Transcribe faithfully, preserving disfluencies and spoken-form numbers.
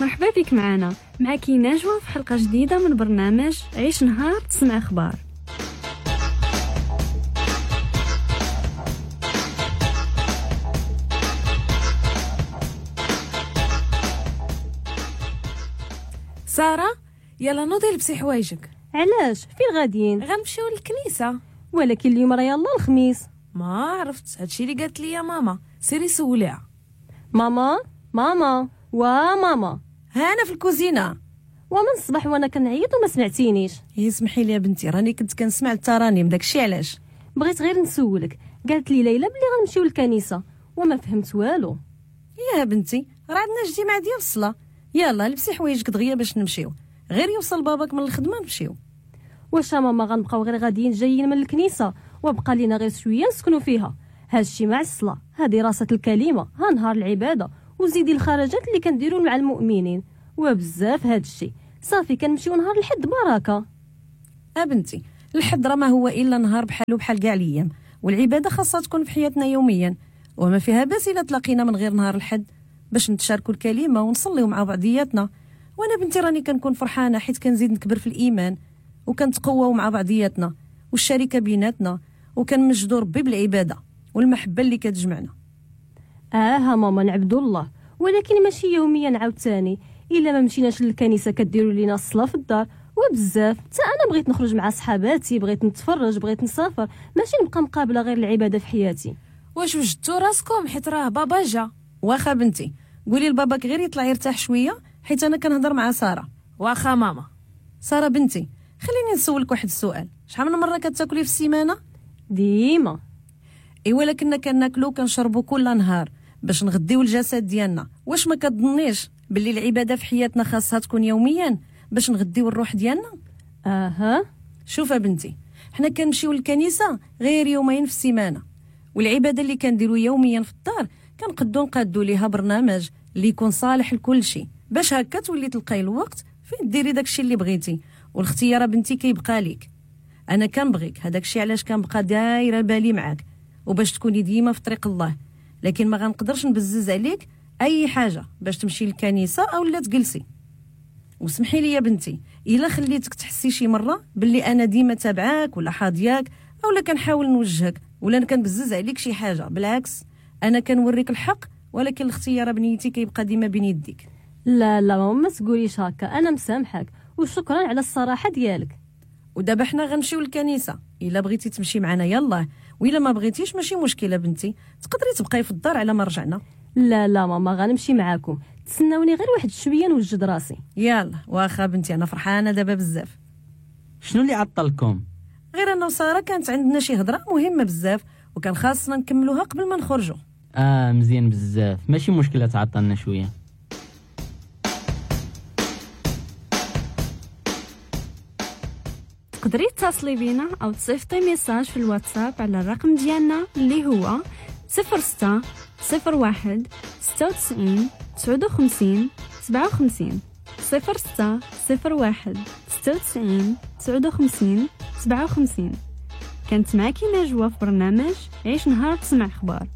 مرحبا بك معنا، معك نجوى في حلقة جديدة من برنامج عيش نهار تسمع أخبار. سارة يلا نوضي لبسي حوايجك. علاش؟ فين غاديين؟ غنمشيو للكنيسة. ولكن اليوم راه يلا الخميس. ما عرفت، هادشي اللي قالت لي ماما، سيري سوليها. ماما ماما وا ماما، ها انا في الكوزينة. ومن الصباح وانا كنعيط وما سمعتينيش. يسمحي لي يا بنتي، راني كنت كنسمع الترانيم، داكشي علاش. بغيت غير نسولك، قالت لي ليلى بلي غنمشيو للكنيسة وما فهمت والو. يا بنتي راه عندنا اجتماع ديال الصلاة، يلا لبسي حوايجك دغيا باش نمشيو، غير يوصل باباك من الخدمة نمشيو. واش ماما غنبقاو غير غاديين جايين من الكنيسة وبقى لينا غير شوية نسكنوا فيها؟ هادشي مع الصلاة، ها دراسة الكلمة، ها نهار العبادة، وزيدي الخرجات اللي كنديروا مع المؤمنين، وبزاف هادشي. صافي كنمشيو نهار الحد بركة. ابنتي الحد راه ما هو الا نهار بحالو بحال كاع الايام، والعبادة خاصها تكون في حياتنا يوميا، وما فيها باس الا تلاقينا من غير نهار الحد باش نتشاركوا الكلمة ونصليو مع بعضياتنا. وانا بنتي راني كنكون فرحانة حيت كنزيد نكبر في الايمان وكنتقواو مع بعضياتنا والشركة بيناتنا، وكنمجدوا ربي بالعبادة والمحبة اللي كتجمعنا. اه ماما نعبدوا الله، ولكن ماشي يوميا عاوتاني. الا ما مشيناش للكنيسة كديروا لينا الصلاة في الدار وبزاف. حتى انا بغيت نخرج مع صحاباتي، بغيت نتفرج، بغيت نسافر، ماشي نبقى مقابله غير العبادة في حياتي. واش وجدتوا راسكم؟ حيت راه بابا جا. واخا بنتي قولي لباباك غير يطلع يرتاح شوية حيت انا كنهضر مع ساره. واخا ماما. ساره بنتي خليني نسولك واحد السؤال، شحال من مرة كتاكلي في السيمانة؟ ديما. ايوا لكنا كناكلو كنشربو كل نهار باش نغديو الجسد ديالنا، واش ما كتظنيش باللي العبادة في حياتنا خاصها تكون يوميا باش نغديو الروح ديالنا؟ اها. شوف بنتي، حنا كنمشيو للكنيسة غير يومين في السيمانة، والعبادة اللي كنديرو يوميا في الدار كنقدو نقادو ليها برنامج اللي يكون صالح لكل شيء، باش هكا تولي تلقاي الوقت فين ديري داكشي اللي بغيتي، والاختيار بنتي كيبقى ليك. انا كنبغيك، هذاك الشيء علاش كنبقى دايرة بالي معاك وباش تكوني ديما في طريق الله، لكن ما غنقدرش نبزز عليك اي حاجة باش تمشي للكنيسة او لا تجلسي. وسمحي لي يا بنتي الا خليتك تحسي شي مرة باللي انا ديما تابعاك ولا حاضياك او لا كنحاول نوجهك ولا كنبزز عليك شي حاجة، بالعكس انا كنوريك الحق، ولكن الاختيار بنيتي كيبقى ديما بين يديك. لا لا ماما ما تقوليش هكا، انا مسامحك وشكرا على الصراحة ديالك. ودابا حنا غنمشيو للكنيسة، الا بغيتي تمشي معنا يلاه، وإلا ما بغيتيش ماشي مشكلة بنتي، تقدري تبقاي في الدار على ما رجعنا. لا لا ماما غنمشي معاكم، تسناوني غير واحد شوية نوجد راسي. يلا واخا بنتي، انا فرحانة دابا بزاف. شنو اللي عطلكم؟ غير انا وسارة كانت عندنا شي هضره مهمة بزاف وكان خاصنا نكملوها قبل ما نخرجوا. اه مزيان بزاف، ماشي مشكلة تعطلنا شوية. تقدري تتصلي بينا او تصيفطي message في الواتساب على الرقم ديالنا اللي هو صفر ستة صفر واحد ستة وتسعين تسعة وخمسين سبعة وخمسين، صفر ستة صفر واحد ستة وتسعين تسعة وخمسين سبعة وخمسين. كانت معك نجوى في برنامج عيش نهار تسمع اخبار.